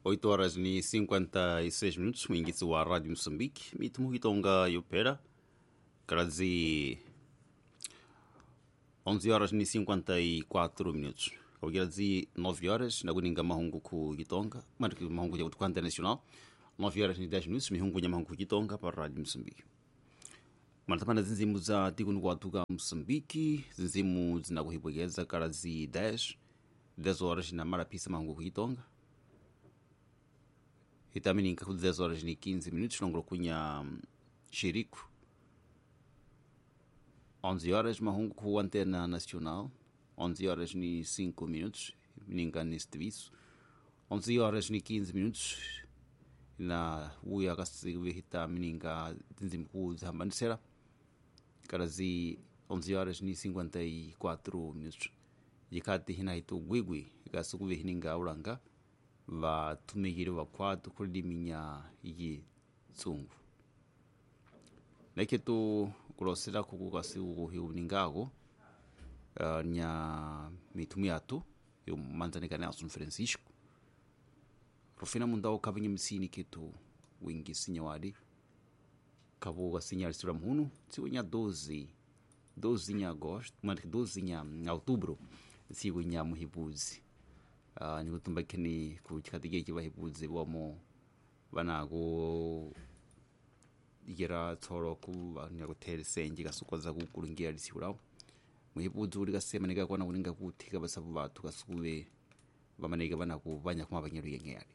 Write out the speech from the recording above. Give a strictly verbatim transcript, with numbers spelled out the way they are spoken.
oito horas e cinquenta e seis minutos, mwingitsi wa Rádio Moçambique, mitumu hitonga yopera, karazi onze horas e cinquenta e quatro minutos. Kawikirazi nove horas, nakuninga mahungu ku Gitonga, mari mahungu ya kutukanda nacional, nove horas e dez minutos, mihungu ya mahungu Gitonga para Rádio Moçambique. Manatapana zinzimu za tikunu kuatuka Moçambique, zinzimu zinakuhipwekeza karazi dez, dez horas na marapisa mahungu ku Gitonga. Itamininka ku dez horas e quinze minutos, longro kunha Xerico. onze horas, mahungu ku Antena Nacional, onze horas e cinco minutos, ninga neste serviço. onze horas e quinze minutos, na uya kasivihita mininga tinzimku zambanisera. Karazi onze horas e cinquenta e quatro minutos. Yikati hinaitu gwigwi, kasukuvihininga ulanga, vatumikire vakwatu kuliminya yitsungu. Neketu kulosera kukukasiukuhiuningako uh, nya mitumu yatu yomanzanika Nelson Francisco rufina mundao kavinye msini kitu wingi sinyawadi kavuga sinyalisira muhunu tsiku nya doze doze nya agosto mani doze nya outubro tsiku nya muhibuzi. Uh, nikutumba kini kuchikatike chivahibuzi wamo vanako yera tsoro ku nyakuthele senje kasukoza kukulungira lisiulawo muhibudzi uli kasema nikakwana kuninga kuthika basabu bathu kasukuve vamaneka vanaku vanya kuma vanyalu yengeyale.